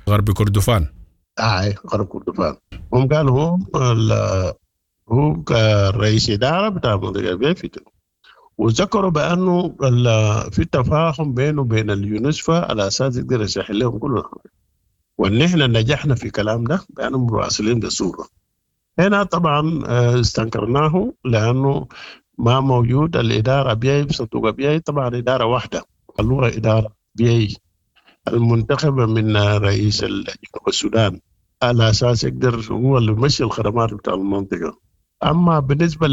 غرب كردفان. غرب كردفان. هم قالوا هو كرئيس إدارة بتاع منطقة أبيي في، وذكروا بأنه في تفاهم بينه وبين اليونسفا على أساس يقدر يسهل لهم كل حاجة، وإن إحنا نجحنا في كلام ده بأنهم مراسلين بصورة. هنا طبعا استنكرناه لأنه ما موجود الإدارة أبيي بصندوق أبيي، طبعا إدارة واحدة اللي هو إدارة أبيي المنتخبة من رئيس جنوب السودان على أساس يقدر هو اللي يمشي الخدمات بتاع المنطقة. أما بالنسبة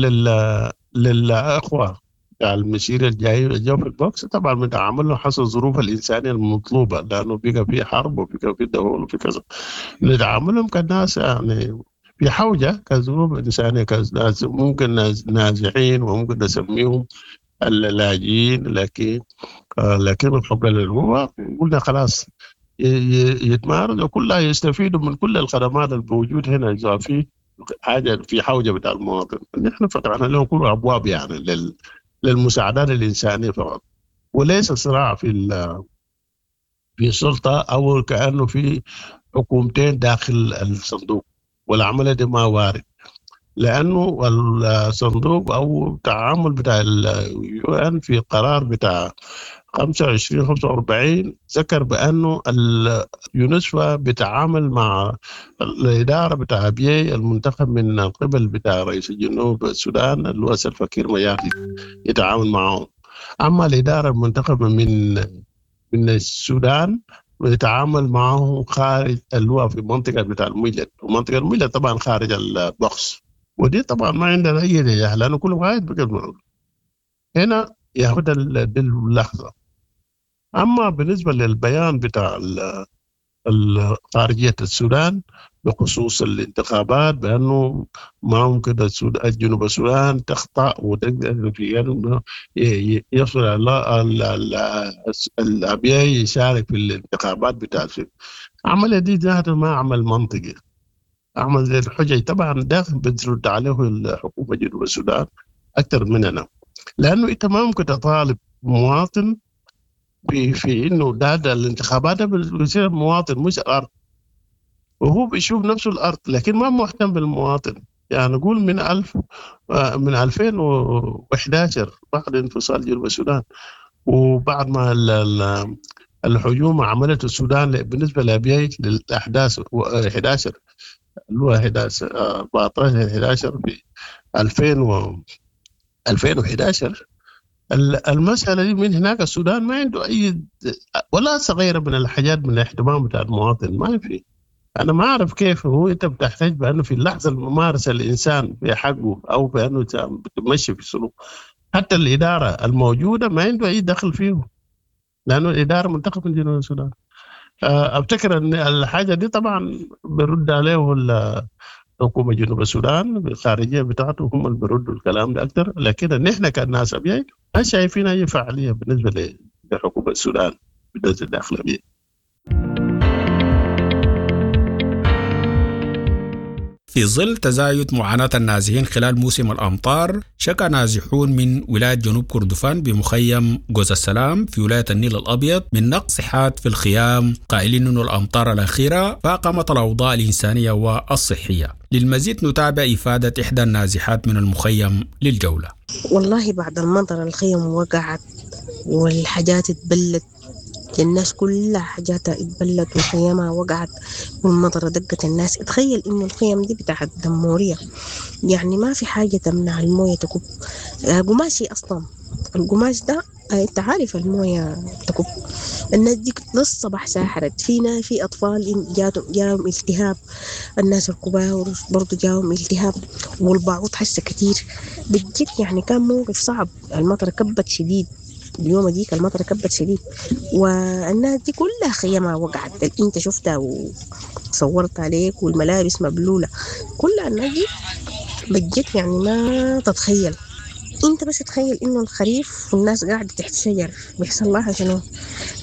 للأخوة بتاع المسير الجاي جو في ال box، طبعا بنتعامل حسب الظروف الإنسانية المطلوبة، لأنه بقى في حرب وبقى في دول وفي كذا، نتعاملهم كناس في حوجة كظروف إنسانية، كناس ممكن نازحين وممكن نسميهم اللاجئين، لكن الحق اللي هو قلنا خلاص يتمارس وكلها يستفيدوا من كل الخدمات الموجودة هنا إذا في حاجة في حوجة بتاع المواطن. نحن فتحنا لهم كل أبواب للمساعدات الإنسانية فقط، وليس صراع في السلطة أو كأنه في حكومتين داخل الصندوق، والعملية دي ما وارد، لأنه الصندوق أو التعامل بتاع اليو إن في قرار بتاع 25-45 ذكر بأنه اليونسفا بيتعامل مع الإدارة بتاع أبيي المنتخب من قبل بتاع رئيس الجنوب السودان اللي هو سلفاكير ميارديت يتعامل معه. أما الإدارة المنتخبة من السودان ويتعامل معه خارج اللي هو في منطقة بتاع المجلد، ومنطقة المجلد طبعا خارج ال box، ودي طبعا ما عندنا أي رجاء لأنه كل واحد بقى معه. هنا ياخد دي اللحظة. أما بالنسبة للبيان بتاع خارجية السودان بخصوص الانتخابات بأنه ما ممكن جنوب السودان تخطأ وتقدر في أنه يصل الأبيي يشارك في الانتخابات بتاع السودان. عمل دي ذاته ما عمل منطقي، عمل زي الحجج طبعا ده بترد عليه الحكومة جنوب السودان أكثر مننا، لأنه أنت ما ممكن تطالب مواطن في إنه ده الانتخابات ده بيصير مواطن مش الأرض، وهو بيشوف نفسه الأرض لكن ما مهتم بالمواطن. نقول من 2011 بعد انفصال جنوب السودان وبعد ما الهجوم عملت السودان بالنسبة لأبيي للأحداث 11 اللي هو 11، 14، 11 في 2011، المسألة دي من هناك السودان ما عنده أي ولا صغيرة من الحاجات من الاهتمام بتاع المواطن ما في. أنا ما أعرف كيف هو أنت بتحتاج بأنه في اللحظة الممارسة الإنسان في حقه أو بأنه بتمشي في السلوك، حتى الإدارة الموجودة ما عنده أي دخل فيه لأنه الإدارة منتخب من جنوب السودان. أفتكر أن الحاجة دي طبعا برد عليه حكومة جنوب السودان بالخارجية بتاعته، هم اللي بيردوا الكلام ده أكتر، لكن نحن كناس أبيي ما شايفين أي فعالية بالنسبة لحكومة السودان بالنسبة للداخل أبيي. في ظل تزايد معاناة النازحين خلال موسم الأمطار، شكى نازحون من ولاية جنوب كردفان بمخيم جوز السلام في ولاية النيل الأبيض من نقص حاد في الخيام، قائلين أن الأمطار الأخيرة فاقمت الأوضاع الإنسانية والصحية. للمزيد نتابع إفادة إحدى النازحات من المخيم للجولة. والله بعد المطر الخيم وقعت والحاجات اتبلت، الناس كلها حاجاتها اتبلت وخيامها وقعت والمطر دقت الناس. اتخيل انه الخيم دي بتاعت دمورية، يعني ما في حاجة تمنع الموية تكب، قماشي اصلا القماش ده انت عارف الموية تكب. الناس دي للصباح ساحرت فينا، في اطفال جاهم التهاب، الناس الكبار برضو جاهم التهاب، والبعوض حسه كتير بجد. يعني كان موقف صعب، المطر كبت شديد اليوم ديك، المطر كبت شديد والناس دي كلها خيمها وقعت، اللي انت شفتها وصورت عليك، والملابس مبلولة كلها الناس دي بجد. يعني ما تتخيل انت، بس تخيل انه الخريف والناس قاعدة تحت شجر بيحصل لها شنو،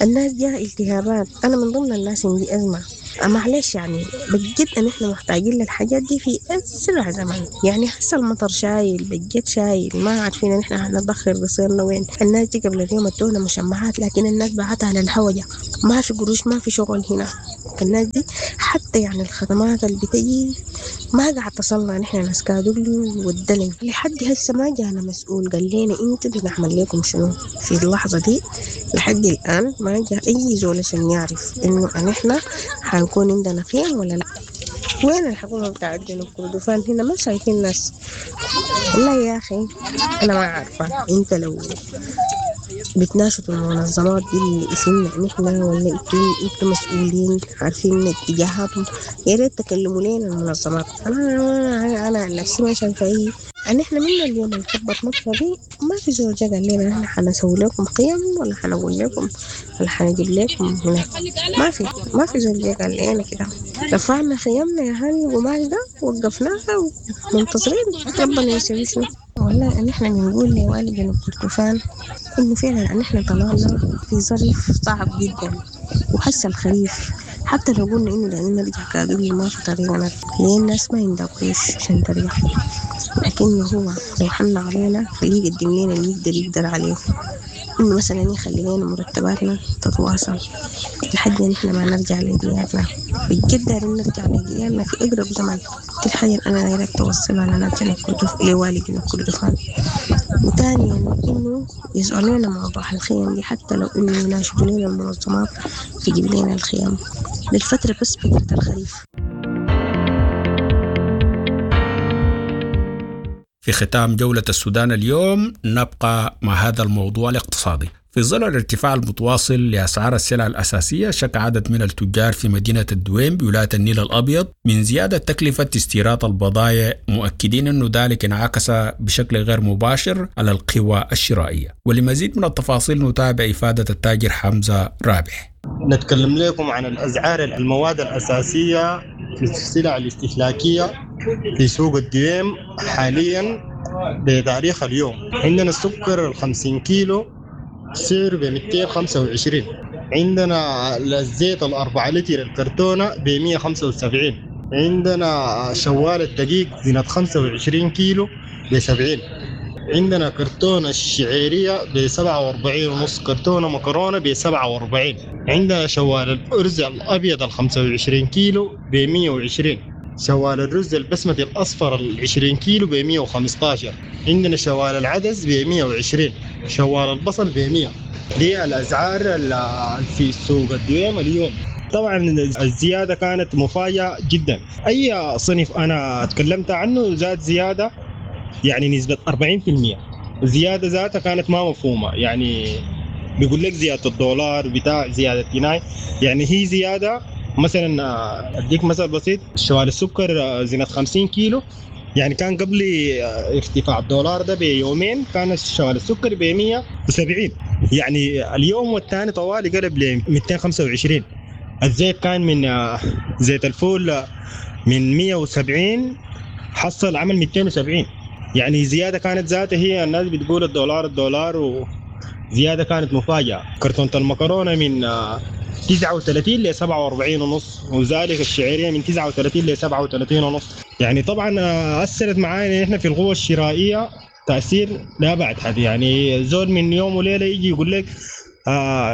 الناس جاها التهابات. انا من ضمن الناس عندي ازمة، معلش يعني بجد ان احنا محتاجين للحاجات دي في اسرع زمن. يعني هسه المطر شايل، بجد شايل، ما عارفين ان احنا هندخل بصيرنا وين. الناس دي قبل اليوم ادونا مشمعات، لكن الناس بعتها للهوجة، ما في قروش، ما في شغل هنا. الناس دي حتى يعني الخدمات اللي بتجي ما قاعد تصلنا. نحن ناس كادولي والدلن لحد هسه ما جانا مسؤول قال لنا انتوا بنعمل لكم شنو في اللحظة دي. لحد الآن ما جاء أي زول عشان يعرف إنه نحن حنكون عندنا خيم ولا لا. وين الحكومة بتاعت جنوب كردفان هنا؟ ما شايفين ناس. والله يا أخي أنا ما عارفة، أنت لو بتناشدوا المنظمات دي اللي اسمنا نحن ولا انتوا مسؤولين عارفين اتجاهاتهم، يا ريت تكلموا لنا المنظمات. انا عن نفسي ما شايفه اي ان احنا من اليوم اللي كبت مصر دي ما في زول جا قال لنا احنا حنسوي لكم قيم ولا حنقول لكم ولا حنجيب لكم هناك. ما في زول جا قال لنا كده. رفعنا خيامنا يا هاني القماش ده وقفناها ومنتظرين ربنا يسوي شنو. والله ان احنا بنقول لوالي جنوب كردفان انه فعلا ان احنا طلعنا في ظرف صعب جدا، وحس الخريف حتى لو قلنا انه دايرين نرجع كادولي ما في طريقة نرجع، ليه الناس ما عندها قروش عشان ترجع. لكن هو لو حن علينا خليه يقدم لنا اللي يقدر عليه، انه مثلا يخلي لنا مرتباتنا تتواصل لحد ما نحن ما نرجع لديارنا. بجد دايرين نرجع لديارنا في اقرب زمن. دي الحاجة اللي انا دايرك توصلها لنا لوالي جنوب كردفان. وثانيا انه يسألوا لنا موضوع الخيم دي، حتى لو انه يناشدوا لنا المنظمات تجيب لنا الخيام للفترة، بس فترة الخريف. في ختام جولة السودان اليوم نبقى مع هذا الموضوع الاقتصادي. في ظل الارتفاع المتواصل لأسعار السلع الأساسية، شك عدد من التجار في مدينة الدويم بولاية النيل الأبيض من زيادة تكلفة استيراد البضائع، مؤكدين أن ذلك انعكس بشكل غير مباشر على القوى الشرائية. ولمزيد من التفاصيل نتابع إفادة التاجر حمزة رابح. نتكلم لكم عن الأسعار المواد الأساسية في السلع الاستهلاكية في سوق الدويم حاليا بتاريخ اليوم. عندنا السكر 50 كيلو سعره ب 225، عندنا الزيت 4 لتر الكرتونة ب 175، عندنا شوال الدقيق زينة 25 كيلو ب 70، عندنا كرتونة الشعيرية ب 47 ونص، كرتونة مكرونة ب 47، عندنا شوال الأرز الأبيض 25 كيلو ب 120، شوال الرز البسمتي الأصفر 20 كيلو ب 115، عندنا شوال العدس ب 120، شوال البصل ب 100. دي الأسعار في سوق الدويم اليوم. طبعا الزيادة كانت مفاجأة جدا. أي صنف أنا تكلمت عنه زاد زيادة يعني نسبة 40%. الزيادة ذاتها كانت ما مفهومة، يعني بيقول لك زيادة الدولار بتاع زيادة جنيه، يعني هي زيادة. مثلا أديك مثل بسيط، شوال السكر زينة 50 كيلو، يعني كان قبل ارتفاع الدولار ده بيومين كان شوال السكر ب 170، يعني اليوم والثاني طوالي قلب ل 225. الزيت كان من زيت الفول من 170 حصل عمل 270، يعني زيادة كانت ذاتها هي الناس بتقول الدولار الدولار، وزيادة كانت مفاجأة. كرتونة المكرونة من 39 ل 47 ونص، وذلك الشعيرية من 39 ل 37 ونص. يعني طبعا أثرت معانا احنا في القوة الشرائية تأثير لا بعد حد. يعني زول من يوم وليلة يجي يقول لك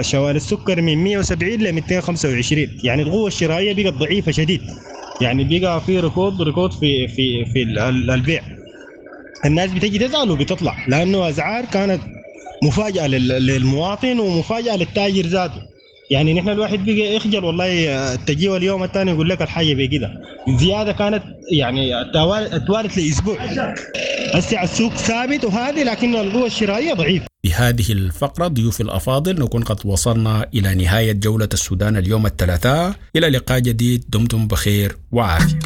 شوال السكر من 170 ل 225، يعني القوة الشرائية بقت ضعيفة شديد، يعني بقى في ركود في في في البيع. الناس بتجي تزعل وبتطلع، لأنه أسعار كانت مفاجأة للمواطن ومفاجأة للتاجر ذاته. يعني نحن الواحد بقى يخجل والله، تجيه اليوم الثاني يقول لك الحاجة بكده. الزيادة كانت يعني توالت لاسبوع. هسه السوق ثابت وهذه، لكن القوة الشرائية ضعيفة. بهذه الفقرة ضيوف الأفاضل نكون قد وصلنا إلى نهاية جولة السودان اليوم الثلاثاء. إلى لقاء جديد، دمتم بخير وعافية.